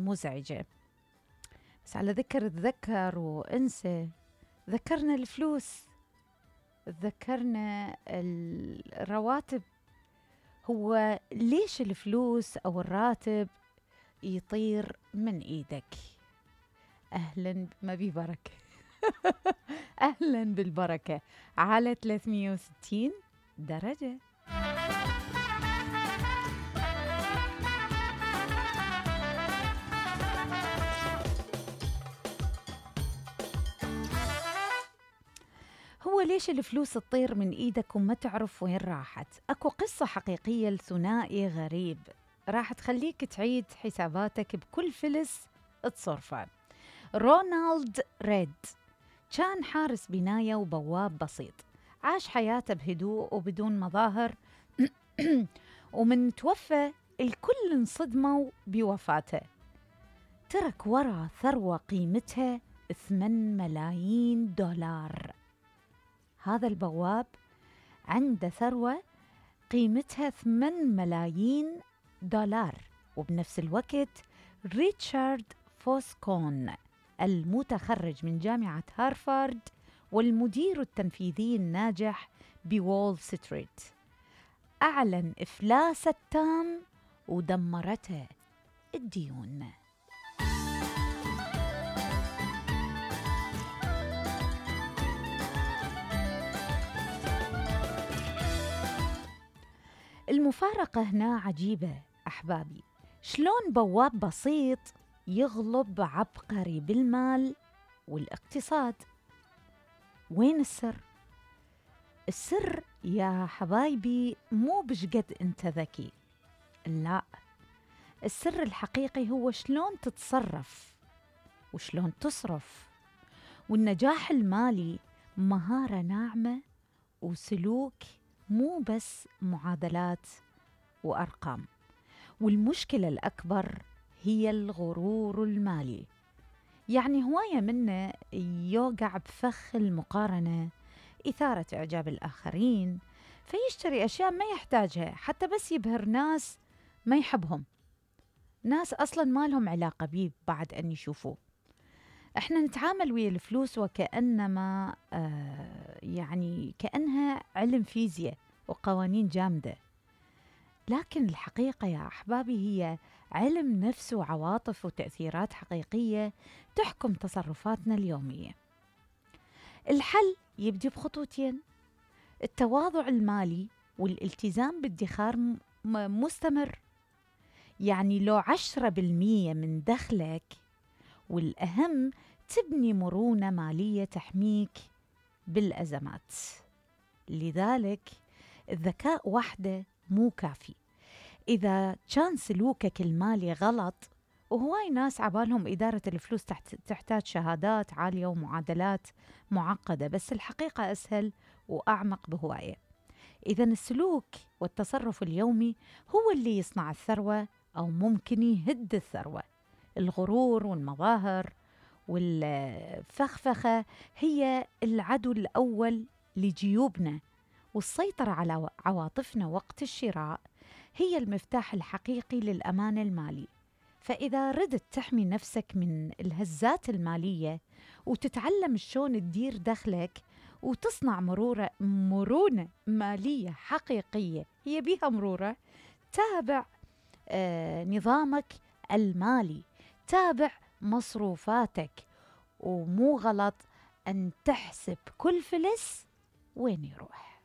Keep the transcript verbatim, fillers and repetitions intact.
مزعجة. بس على ذكر تذكر وانسى، ذكرنا الفلوس، ذكرنا الرواتب. هو ليش الفلوس أو الراتب يطير من إيدك؟ أهلاً، ما بي بركة. أهلاً بالبركة على ثلاثمية وستين درجة. هو ليش الفلوس تطير من إيدك وما تعرف وين راحت؟ أكو قصة حقيقية لثنائي غريب راح تخليك تعيد حساباتك بكل فلس تصرفه. رونالد ريد كان حارس بناية وبواب بسيط، عاش حياته بهدوء وبدون مظاهر. ومن توفى الكل انصدموا بوفاته. ترك ورا ثروة قيمتها ثمانية ملايين دولار. هذا البواب عنده ثروة قيمتها ثمانية ملايين دولار. وبنفس الوقت ريتشارد فوسكون المتخرج من جامعة هارفارد والمدير التنفيذي الناجح بوول ستريت أعلن إفلاسه التام ودمرته الديون. المفارقة هنا عجيبة أحبابي. شلون بواب بسيط يغلب عبقري بالمال والاقتصاد؟ وين السر؟ السر يا حبايبي مو بشقد انت ذكي، لا، السر الحقيقي هو شلون تتصرف وشلون تصرف. والنجاح المالي مهارة ناعمة وسلوك، مو بس معادلات وأرقام. والمشكلة الأكبر هي الغرور المالي. يعني هواية منا يوقع بفخ المقارنة، إثارة إعجاب الآخرين، فيشتري أشياء ما يحتاجها حتى بس يبهر ناس ما يحبهم، ناس أصلاً ما لهم علاقة بيه بعد أن يشوفوه. إحنا نتعامل ويا الفلوس وكأنما آه يعني كأنها علم فيزياء وقوانين جامدة، لكن الحقيقة يا أحبابي هي علم نفس وعواطف وتأثيرات حقيقية تحكم تصرفاتنا اليومية. الحل يبدي بخطوتين: التواضع المالي والالتزام بادخار مستمر. يعني لو عشرة بالمية من دخلك، والأهم تبني مرونة مالية تحميك بالأزمات. لذلك الذكاء وحده مو كافي. إذا كان سلوكك المالي غلط، وهواي ناس عبالهم إدارة الفلوس تحتاج شهادات عالية ومعادلات معقدة، بس الحقيقة أسهل وأعمق بهواية. إذا السلوك والتصرف اليومي هو اللي يصنع الثروة أو ممكن يهد الثروة. الغرور والمظاهر والفخفخة هي العدو الأول لجيوبنا، والسيطرة على عواطفنا وقت الشراء هي المفتاح الحقيقي للأمان المالي. فإذا ردت تحمي نفسك من الهزات المالية وتتعلم شلون تدير دخلك وتصنع مرورة مرونة مالية حقيقية، هي بيها مرورة، تابع آه نظامك المالي، تابع مصروفاتك، ومو غلط أن تحسب كل فلس وين يروح.